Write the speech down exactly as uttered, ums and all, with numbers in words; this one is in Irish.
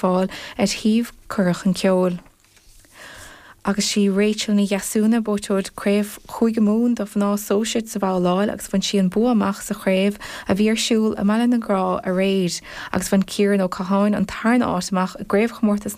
fáil ar shuíomh Cuireadh Chun Ceoil. Agus sí Rachel Ní Dheasúna buaiteoir craobh Chúige Mumhan do mhná sóisir sa bhabhláil agus bhain sí an bua amach sa chraobh a bhí ar siúl i mBaile na Grá aréir, agus bhain Ciarán Ó Catháin an tarna háit amach i gcraobhchomórtas